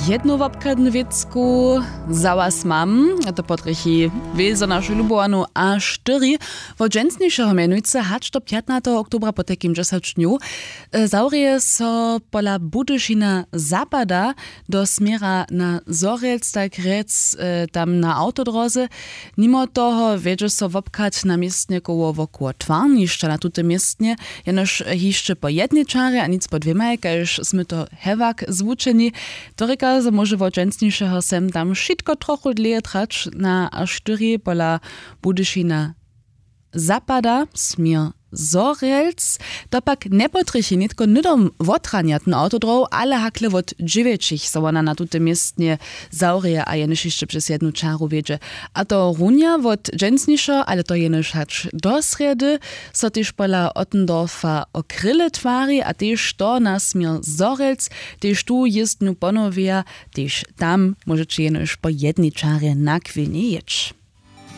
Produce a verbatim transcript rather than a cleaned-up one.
Jednu wobchadnu wěcku za was mam, a to potrjechi wězo našu lubowanu a štyri. Wot dźensnišeho mjenujcy hač do pjatnateho oktobra po tajkim dźesać dnjow zawrěje so pola Budyšina zapada do směra na Zhorjelc, tak rjec, tam na awtodróze. Nimo toho wjedźe so wobchad na městnje koło wokoło twarnišća na tutym městnje, jenož hišće po jednej čarje a nic po dwěmaj, kaž smy to hewak zwučeni. To rěka, zo móže wot dźensnišeho sem tam wšitko trochu dlěje trać. Na a štyri pola Budyšina zapada směr Zhorjelc. To pak njepotrjechi nětko hnydom wotranjatny awtodróh, ale hakle wot dźewjećich, zo wona na tutym městnje zawrěje a jenož hišće přez jednu čaru wjedźe. A to runja wot dźensnišeho, ale to jenož hač do srjedy, so tež pola Ottendorfa o kryle twari a tež to na směr Zhorjelc. Tež tu jězbnju ponowjeja, tež tam móžeće jenož po jednej čarje na chwilnje jěć.